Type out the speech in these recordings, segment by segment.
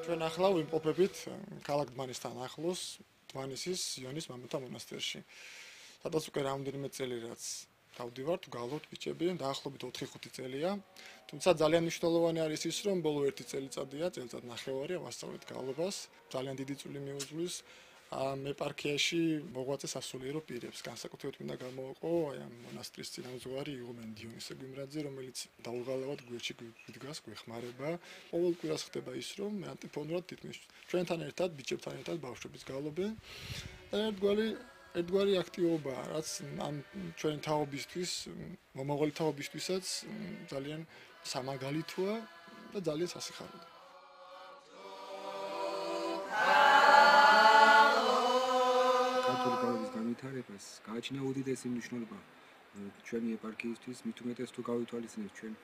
ჩვენ ახლა ვიმყოფებით ქალაქ დმანისთან ახლოს, დმანისის იონის მამათა მონასტერში. სადაც უკვე რამდენიმე წელი რაც დავდივართ, გალობთ ბიჭები, დაახლოებით 4-5 წელია. თუმცა ძალიან მნიშვნელოვანი არის ის, რომ ბოლო 1 წელიწადია, წელიწად ნახევარია ვასწავლეთ გალობას. ძალიან დიდი წვლილი მიუძღვის ამ ეპარქიაში მოღვაწე სასულიერო პირებს. განსაკუთრებით მინდა გამოვაყო აი ამ მონასტრის წინამძღვარი იღუმენ დიონისე გვიმრაძე, რომელიც დაუღალავად გვერდში გვიდგას, გვეხმარება. ყოველ კვირას ხდება ის, რომ მე ანტიფონურად თითქმის ჩვენთან ერთად, ბიჭებთან ერთად ბავშვებიც გალობენ. ერთგვარი აქტივობაა, რაც ამ ჩვენი თაობისთვის, მომავალი თაობისთვისაც ძალიან სამაგალითოა და ძალიან სასიხარულოა. ქართული გალობის განვითარებას გააჩნია უდიდესი მნიშვნელობა ჩვენი ეპარქიისთვის, მით უმეტეს თუ გავითვალისწინებთ ჩვენ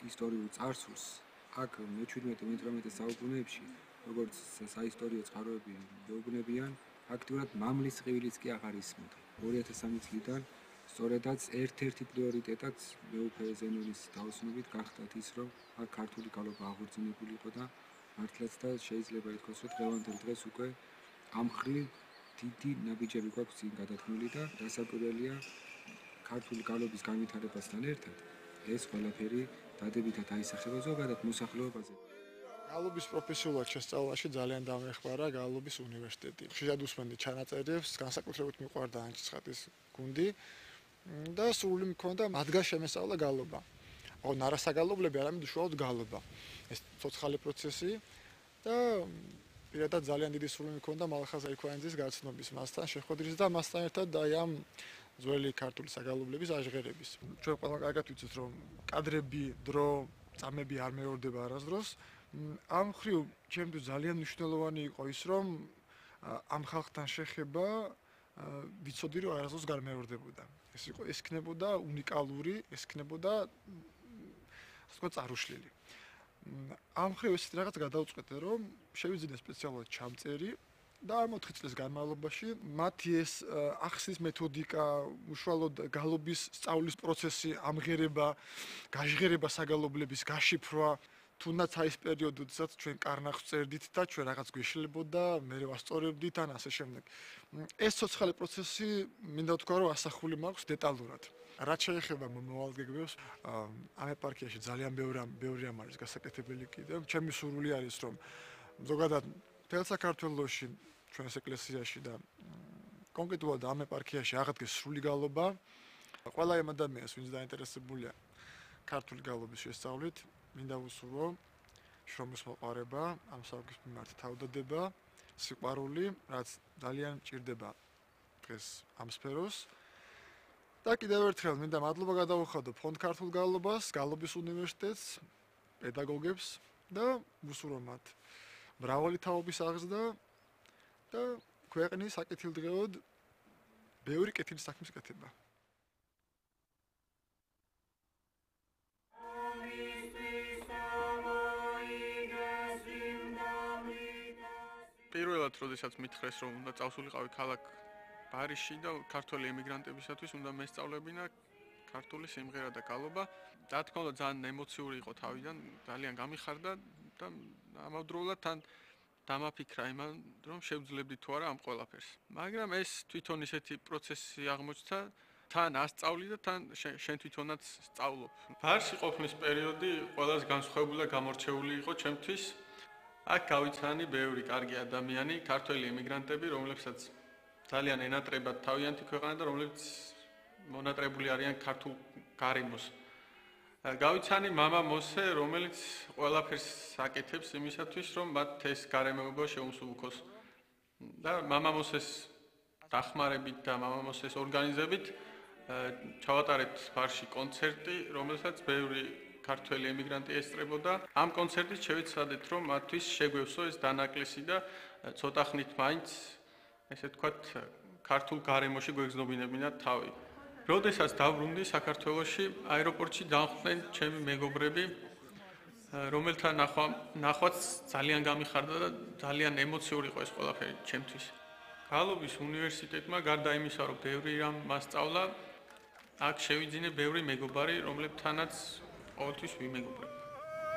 ისტორიულ წარსულს. აქ მე-17-18 საუკუნეებში, როგორც საისტორიო წყაროები მეუბნებიან, აქტიურად მამლის ყივილიც კი აღარ ისმოდა. 2003 წლიდან სწორედაც ერთ-ერთი პრიორიტეტად მეუფე ზენონის დაოსნობით გახდათ ის, რომ აქ ქართული გალობა აღორძინებული იყო და მართლაც და შეიძლება ითქვას, რომ დღევანდელ დღეს უკვე ამ მხრივ დიდი ნაბიჯები გვაქვს წინ გადადგმული და დასაკვირველია ქართული გალობის განვითარებასთან ერთად ეს ყველაფერი დადებითად აისახება ზოგადად მოსახლეობაზე. გალობის პროფესიულად შესწავლაში ძალიან დამეხმარა გალობის უნივერსიტეტი. ხშირად უსმენდი ჩანაწერებს, განსაკუთრებით მიყვარდა ანჩისხატის გუნდი და სრული მქონდა მათგან შემესწავლა გალობა. ოღონდ არასაგალობლები, არამედ უშუალოდ გალობა. ეს ცოცხალი პროცესი და პირადად ძალიან დიდი სრული მქონდა მალხაზ აიქვანიძის გაცნობის მასთან შეხვედრის და მასთან ერთად აი ამ ძველი ქართული საგალობლების აჟღერების. ჩვენ ყველა კარგად ვიცით, რომ კადრები, დრო, წამები არ მეორდება არასდროს. ამ მხრივ ჩემთვის ძალიან მნიშვნელოვანი იყო ის, რომ ამ ხალხთან შეხება ვიცოდი, რომ არასდროს gar მეორდებოდა. ეს იქნებოდა უნიკალური, ეს იქნებოდა ასე ვთქვათ, წარუშლილი. ამ მხრივ ესეთი რაღაც გადავწყვეტე, რომ შევიძინე სპეციალურად ჩამწერი და ამ 4 წლის განმავლობაში მათი ეს ახსნის მეთოდიკა, უშუალოდ გალობის სწავლის პროცესი, ამღერება, გაჟღერება საგალობლების, გაშიფრვა, თუნდაც აი ეს პერიოდი, როდესაც ჩვენ კარნახს წერდით და ჩვენ რაღაც გვეშლებოდა, მე ვასწორებდით ან ასე შემდეგ. ეს ცოცხალი პროცესი მინდა ვთქვა, რომ ასახული მაქვს დეტალურად. რაც შეეხება მომავალ გეგმებს, ამ ეპარქიაში ძალიან ბევრი ამ არის გასაკეთებელი კიდევ. ჩემი სურვილი არის, რომ ზოგადად მთელ საქართველოში, ჩვენს ეკლესიაში და კონკრეტულად ამ ეპარქიაში აღდგეს სრული გალობა. ყველა იმ ადამიანს, ვინც დაინტერესებულია ქართული გალობის შესწავლით, მინდა ვუსურვო შრომის მოყარება, ამ საქმის მიმართ თავდადება, სიყვარული, რაც ძალიან მჭირდება დღეს ამ სფეროს. და კიდევ ერთხელ მინდა მადლობა გადავუხადო ფონდ ქართულ გალობას, გალობის უნივერსიტეტს, პედაგოგებს და ვუსურვო მათ მრავალი თაობის აღზრდა და ქვეყნის საკეთილდღეოდ ბევრი კეთილი საქმის კეთება. პირველად, როდესაც მითხრეს, რომ უნდა წავსულიყავი ქალაქ ბარიში და ქართველი ემიგრანტებისათვის უნდა მესწავლებინა ქართული სიმღერა და გალობა. რა თქმა უნდა, ძალიან ემოციური იყო თავიდან, ძალიან გამიხარდა და ამავდროულად თან დამაფიქრა იმან, რომ შევძლებდი თუ არა ამ ყველაფერს. მაგრამ ეს თვითონ ისეთი პროცესი აღმოჩნდა, თან ასწავლი და თან შენ თვითონაც სწავლობ. ბარში ყოფნის პერიოდი ყველაზე განსხვავებული და გამორჩეული იყო ჩემთვის. აქ გავიცანი ბევრი კარგი ადამიანი, ქართველი ემიგრანტები, რომლებსაც ძალიან ენატრებათ თავიანთი ქვეყანა და რომლებიც მონატრებული არიან ქართულ გარემოს. გავიცანი მამა მოსე, რომელიც ყველაფერს აკეთებს იმისათვის, რომ მათ ეს გარემოება შეუსუბუქოს. და მამა მოსეს დახმარებით და მამა მოსეს ორგანიზებით ჩავატარეთ ბარში კონცერტი, რომელსაც ბევრი ქართველი ემიგრანტი ესწრებოდა. ამ კონცერტით შევეცადეთ, რომ მათთვის შეგვევსო ეს დანაკლისი და ცოტა ხნით მაინც ესე ვთქვათ, ქართულ გარემოში გვეგზნობინებინათ თავი. როდესაც დავბრუნდი საქართველოში, აეროპორტში დამხვდნენ ჩემი მეგობრები, რომელთა ნახვაც ძალიან გამიხარდა და ძალიან ემოციური იყო ეს ყველაფერი ჩემთვის. გალობის უნივერსიტეტმა გარდა იმისა, რომ ბევრი რამ მასწავლა, აქ შევიძინე ბევრი მეგობარი, რომლებთანაც ყოველთვის ვიმეგობრებ.